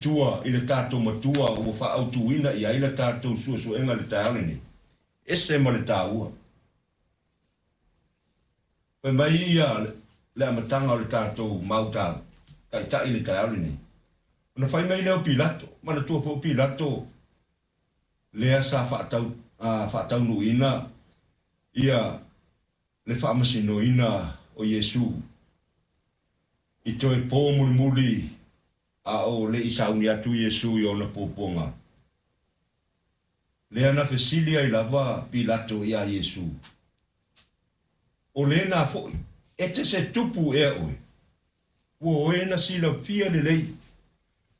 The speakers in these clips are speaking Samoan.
Tua i le tatou Matua ua faaautuina i ai le tatou suesuega i le taeao lenei, ese ma le taua. Fai mai ia le amataga o le tatou mau taitai i le taeao lenei. Ona fai mai lea o Pilato, manatua foi o Pilato lea sa faataunuuina ia le faamasinoina o Iesu i toe po mulimuli a o le i sauni atu Iesu i ona puapuaga. Lea na fesili ai lava Pilato iā Iesu, O lena foi, e te se tupu ea oe? Ua oe na silafia lelei,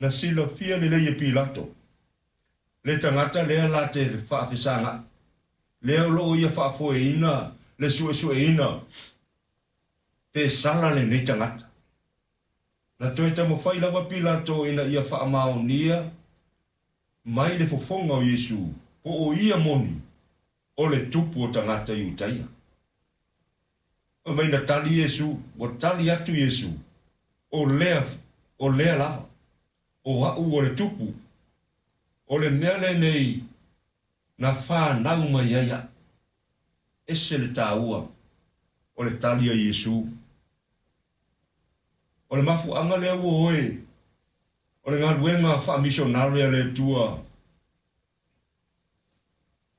na silafia lelei e Pilato, le tagata lea la te faafesagaʻi, lea o lo o ia faafoeina le suesueina pe sala lenei tagata. Na toe taumafai lava Pilato ina ia faamaonia mai le fofoga o Iesu po o ia moni o le tupu o tagata Iutaia. Fai mai na tali Iesu, ua tali atu Iesu, O lea, o lea lava, o aʻu o le tupu, o le mea lenei na fanau mai ai aʻu. Ese le taua o le tali a Iesu. O le mafuaaga lea ua oe o le galuega faamisionare a le Atua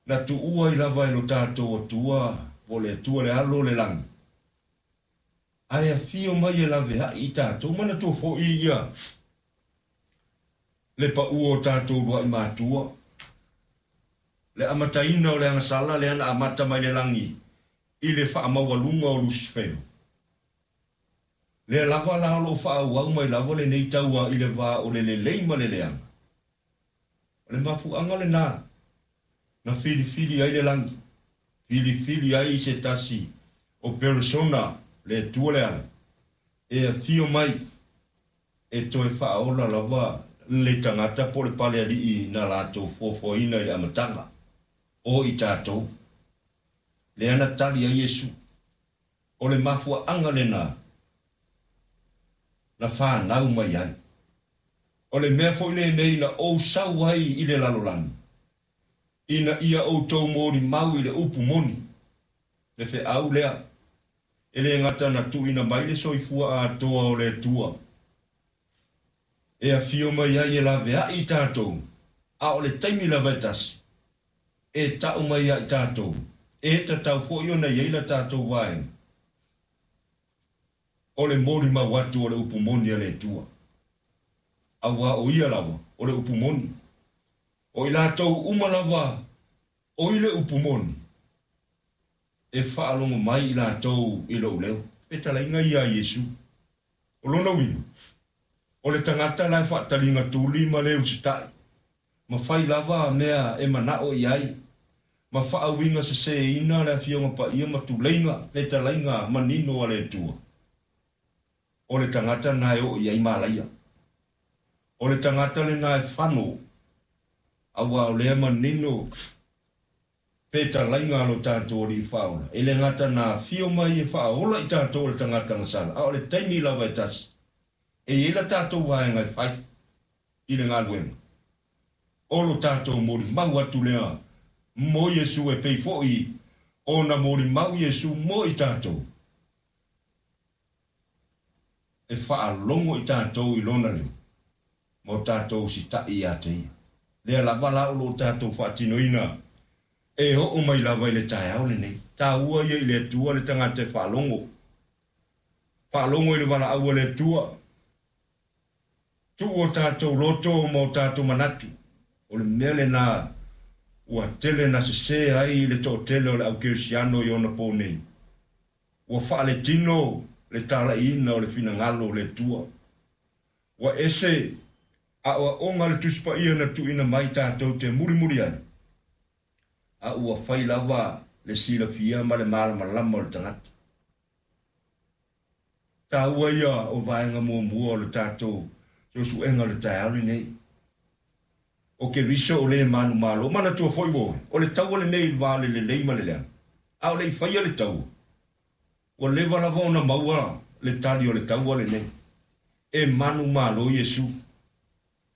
na tuua ai lava e lo tatou Atua po o le Atua le Alo o le lagi, ae afio mai e laveai i tatou. Manatua foi ia le paua o tatou uluai matua, le amataina o le agasala lea na amata mai le lagi i le faamaualuga o Lusifelo. Lea lava la o lo o faaauau mai lava lenei taua i le va o le lelei ma le leaga. O le mafuaaga lena na filifili ai le lagi, filifili ai se tasi o peresona, le Atua le Alo, e afio mai e toe faaola lava le tagata po o le palealii na latou fuafuaina i le amataga, o i tatou. Lea na tali ai Iesu. O le mafuaaga lena na fanau mai ai. O le mea foi lenei na ou sau ai i le lalolagi, ina ia outou molimau i le upu moni, le feau lea, e le gata na tuuina mai le soifua atoa o le Atua, e afio mai ai e laveai i tatou, a o le taimi lava e tasi, e tau mai ia i tatou, e tatau foi ona i ai la tatou vaega o le molimau atu o le upu moni a le Atua. Aua o Ia lava o le upu moni. O i latou uma lava o i le upu moni, e faalogo mai i latou i lou leo. Fetalaiga ia a Iesu. O lona uiga, o le tagata la e faataliga tuli ma le usitai, ma fai lava mea e manao i ai, ma faauiga seseina le Afioga Paia ma tuleiga fetalaiga manino a le Atua, o le tagata lena e oo i ai malaia. O le tagata lena e fano, aua o lea manino fetalaiga a lo tatou Alii Faaola, e le gata na afio mai e faaola i tatou o le tagata gasala, a o le taimi lava e tasi, e i ai la tatou vaega e fai i le galuega. O lo tatou molimau atu lea mo Iesu e pei foi ona molimau Iesu mo i tatou. E faalogo i tatou i Lona leo ma o tatou sitaʻi ia te Ia. Lea lava la o lo o tatou faatinoina e oo mai lava i le taeao lenei. Taua ia i le Atua le tagata e faalogo. Faalogo i le valaau a le Atua. Tuu o tatou loto ma o tatou manatu. O le mea lena ua tele na sese ai le toatele o le au kerisiano i ona po nei. Ua faaletino le talaiina o le finagalo o le Atua. Ua ese aoaoga a le Tusi Paia na tuuina mai tatou te mulimuli ai, a ua fai lava le silafia ma le malamalama o le tagata. Taua ia o vaega muamua o le tatou suesuega o le taeao lenei. O Keriso o le manumalo. Manatua foi ua oe, o le taua lenei i le va o le lelei ma le leaga. A o le i faia le taua, ua leva lava ona maua le tali o le taua lenei. E manumalo Iesu.